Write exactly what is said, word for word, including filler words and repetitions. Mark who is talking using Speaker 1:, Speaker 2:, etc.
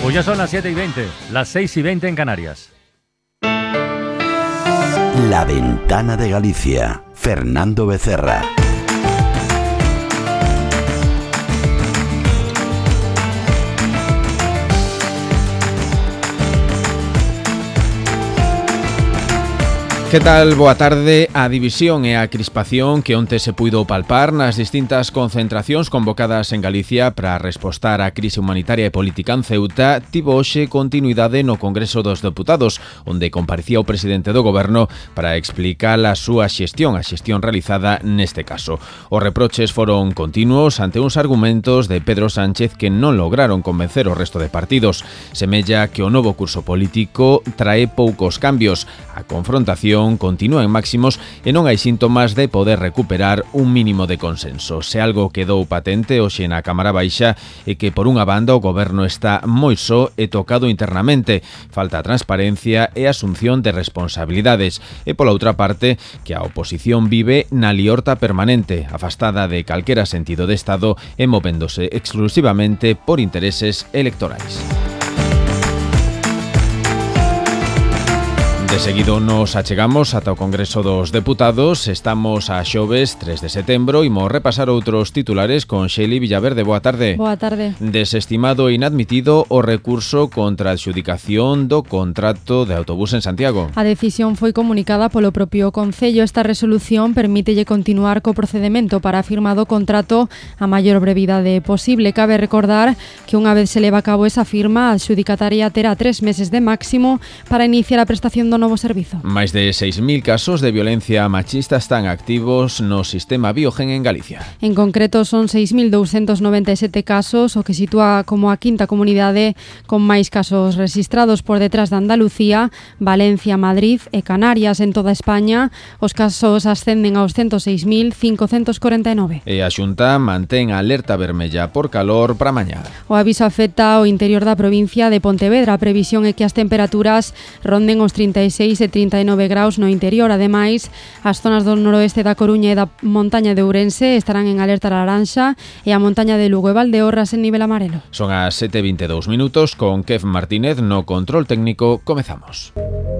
Speaker 1: Pues ya son las siete y veinte, las seis y veinte en Canarias.
Speaker 2: La Ventana de Galicia, Fernando Becerra.
Speaker 3: Que tal? Boa tarde. A división e a crispación que onte se puido palpar nas distintas concentracións convocadas en Galicia para respostar á crise humanitaria e política en Ceuta tivo hoxe continuidade no Congreso dos Deputados, onde comparecía o presidente do Goberno para explicar a súa xestión, a xestión realizada neste caso. Os reproches foron continuos ante uns argumentos de Pedro Sánchez que non lograron convencer o resto de partidos. Semella que o novo curso político trae poucos cambios. A confrontación continúa en máximos e non hai síntomas de poder recuperar un mínimo de consenso. Se algo quedou patente hoxe na Cámara Baixa é que por unha banda o Goberno está moi só e tocado internamente. Falta transparencia e asunción de responsabilidades. E pola outra parte que a oposición vive na liorta permanente, afastada de calquera sentido de Estado e movéndose exclusivamente por intereses electorais. De seguido nos achegamos ata o Congreso dos Deputados. Estamos a xoves tres de setembro e imos repasar outros titulares con Xeli Villaverde. Boa tarde.
Speaker 4: Boa tarde.
Speaker 3: Desestimado e inadmitido o recurso contra a adxudicación do contrato de autobús en Santiago.
Speaker 4: A decisión foi comunicada polo propio Concello. Esta resolución permítelle continuar co procedemento para a firma do contrato a maior brevidade posible. Cabe recordar que unha vez se leva a cabo esa firma, a adxudicataria terá tres meses de máximo para iniciar a prestación do novo servizo.
Speaker 3: Máis de seis mil casos de violencia machista están activos no sistema Biogen en Galicia.
Speaker 4: En concreto son seis mil douscentos noventa e sete casos, o que sitúa como a quinta comunidade con máis casos rexistrados, por detrás de Andalucía, Valencia, Madrid e Canarias. En toda España, os casos ascenden aos ciento seis mil cincocentos corenta e nove.
Speaker 3: E a Xunta mantén a alerta vermella por calor para mañá.
Speaker 4: O aviso afecta o interior da provincia de Pontevedra. A previsión é que as temperaturas ronden os trinta e seis e trinta e nove graus no interior. Ademais, as zonas do noroeste da Coruña e da montaña de Ourense estarán en alerta laranxa e a montaña de Lugo e Valdeorras en nivel amarelo.
Speaker 3: Son as sete e vinte e dous minutos, con Kev Martínez no control técnico. Comezamos.